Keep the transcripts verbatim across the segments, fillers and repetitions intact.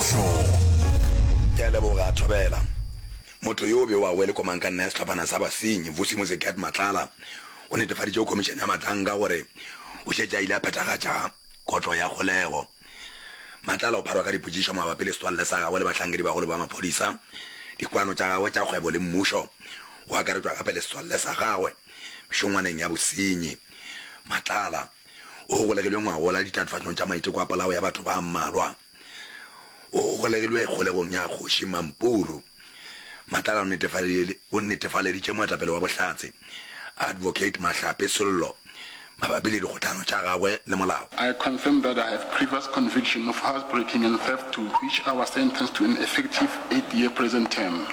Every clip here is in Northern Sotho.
Show. Ke a leboga, Thobela. Motho yo o bewago e le komangkanna ya sehlophana sa basenyi, Vusimuzi Cat Matlala, o netefaditše go Khomišene ya Matlanga gore o šetše a ile a phethagatša kotlo ya kgolego. Matlala o pharwa ka dipotšišo mabapi le setswalle sa gagwe le bahlankedibagolo ba maphodisa, dikwano tša gagwe tša kgwebo le mmušo, go akaretšwa gape le setswalle sa gagwe mešongwaneng ya bosenyi. Matlala o golegilwe ngwagola ditatofatšong tša maiteko a polao ya batho ba mmalwa. O golegilwe kgolegong ya Kgoši Mampuru. Matlala o netefaleditše moetapele wa Bohlatse, Advocate Mahlape Sello, mabapi le dikgohlano tša gagwe le molao. I confirm that I have previous conviction of housebreaking and theft to which I was sentenced to an effective eight-year prison term.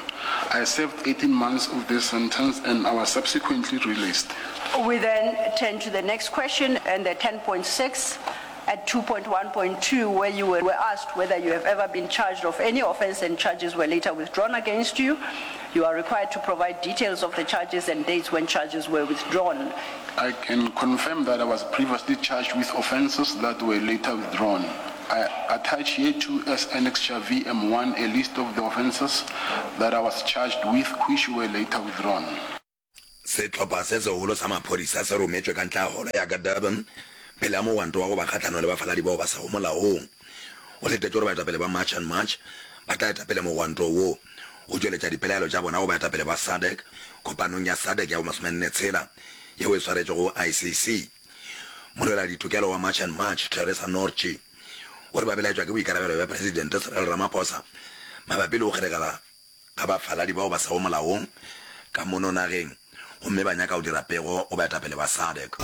I served eighteen months of this sentence and I was subsequently released. We then turn to the next question and the ten point six at two point one point two where you were asked whether you have ever been charged of any offence and charges were later withdrawn against you. You are required to provide details of the charges and dates when charges were withdrawn. I can confirm that I was previously charged with offences that were later withdrawn. I attach here to as Annexure V M one a list of the offences that I was charged with which were later withdrawn. Sehlopha se segolo sa maphodisa se rometšwe ka ntle ga holo ya ka Durban pele ga mogwanto wa go ba kgahlanong le bafaladi bao ba sego molaong. Go letetšwe gore baetapele ba March and March ba tla eta pele mogwanto wo go tšweletša dipelaelo tša bona go baetapele ba SADC kopanong ya SADC ya bomasomenne tshela yeo e swaretšwego go I C C. Molweladitokelo wa March and March, Teresa Nortje, o re ba belaetšwa ke boikarabelo bja Presidente Cyril Ramaphosa mabapi le go kgeregela ga bafaladi bao ba sego molaong ka mono nageng gomme ba nyaka go dira pego go baetapele ba SADC.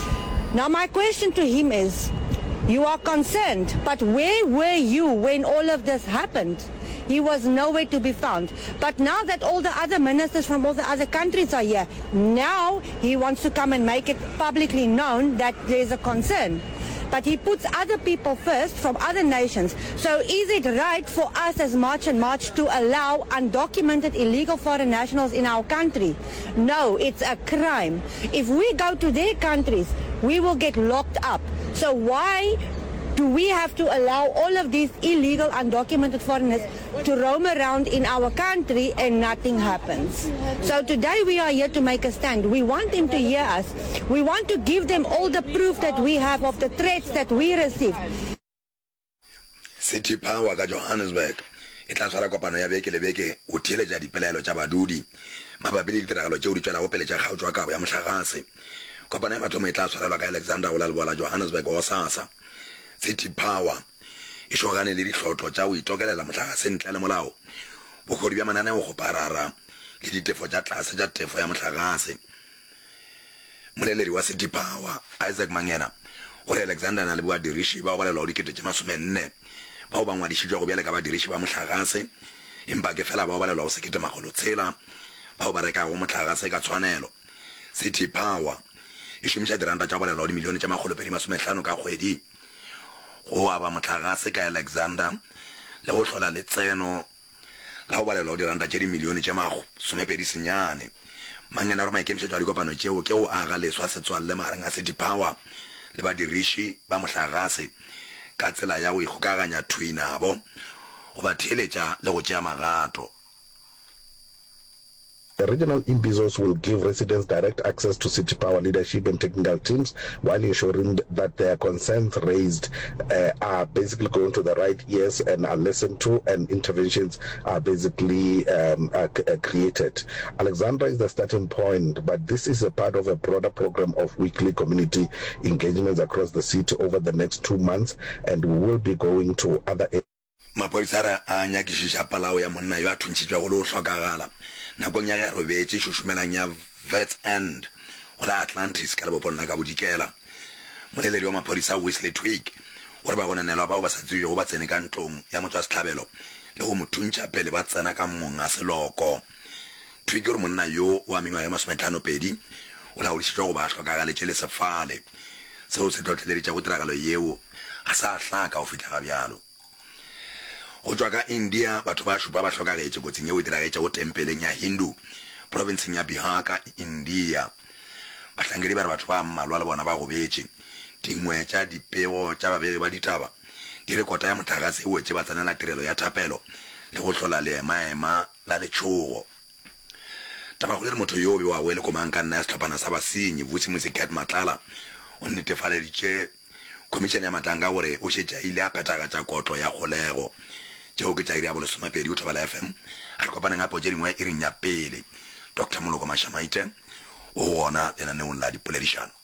Now my question to him is, you are concerned, but where were you when all of this happened? He was nowhere to be found. But now that all the other ministers from all the other countries are here, now he wants to come and make it publicly known that there's a concern. But he puts other people first from other nations. So is it right for us as March and March to allow undocumented illegal foreign nationals in our country? No, it's a crime. If we go to their countries, we will get locked up. So why do we have to allow all of these illegal undocumented foreigners to roam around in our country and nothing happens? So today we are here to make a stand. We want them to hear us. We want to give them all the proof that we have of the threats that we receive. City Power ka Johannesburg e tla swara kopano ya beke le beke go theeletša dipelaelo tša badudi mabapi le ditiragalo tšeo di tšwelago pele tša kgaotšo ya kabo ya mohlagase. Kopano ya mathomo e tla swarelwa ka Alexandra go la leboa la Johannesburg gosasa. City Power e šogane le dihlotlo tša go itokelela mohlagase ntle le molao, bohodu bja mananeokgoparara le ditefo tša tlase tša tefo ya mohlagase. Moleledi wa City Power, Isaac Mangena, o re Alexander na le badiriši bao balelwago dikete tše masomenne bao ba ngwadišitšwego bjale ka badiriši ba mohlagase, empa ke fela bao balelwago sekete makgolo tshela bao ba rekago mohlagase ka tshwanelo. City Power e šomiša diranta tša go balelwago dimilione tše makgolo pedi masomehlano ka kgwedi go aba mohlagase ka Alexander le go hlola letseno la go balelwago diranta tše dimilione tše masomepedi senyane. Mangena o re maikemišetšo a dikopano tšeo ke go aga leswa setswalle magareng a City Power le badiriši ba mohlagase ka tsela ya go ikgokaganya thwi nabo, go ba theeletša le go tšea magato. The regional imbizos will give residents direct access to City Power leadership and technical teams while ensuring that their concerns raised, uh, are basically going to the right ears and are listened to, and interventions are basically, um, are, uh, created. Alexandra is the starting point, but this is a part of a broader program of weekly community engagements across the city over the next two months, and we will be going to other areas. Maphodisa a re a nyakišiša polao ya monna yo a thuntšhitšwego le go hlokagala nakong ya ge a robetše šošomelang ya Wits End go la Atlantis ka lebopong la ka bodikela. Moleledi wa maphodisa Wesley Twigg o re bagononelwa bao ba sa tsebjego ba tsene ka ntlong ya motšwasehlabelo le go mo thuntšha pele ba tsena ka monga seloko. Twigg o re monna yo wa mengwaga ye masometlhano-pedi o laodišitšwe go ba a hlokagaletše le sefale. Seo se hlohleleditšego tiragalo yeo ga sa hlaka go fihla ga bjalo. Go tšwa ka India, batho ba šupa ba hlokagetše kotsing yeo e diragetšego tempeleng ya Hindu profenseng ya Bihar ka India. Bahlankedi ba re batho ba mmalwa le bona ba gobetše. Dingwe tša dipego tša babegi ba ditaba Di re kota ya mohlagase e wetše batsenela tirelo ya thapelo le go hlola leemaema la letšhogo. Tabakgolo e re motho yo bewago e le komangkanna ya sehlophana sa basenyi, Vusimusi Cat Matlala, o netefaleditše Khomišene ya Matlanka gore o šetše a ile a phethagatša kotlo ya kgolego. Tšeo ke tša iri ya bolesomepedi go Thobela F M. A re kopaneng gape go tše dingwe iring ya pele. Doctor Moloko Mashamaite o gona lenaneong la dipoledišano.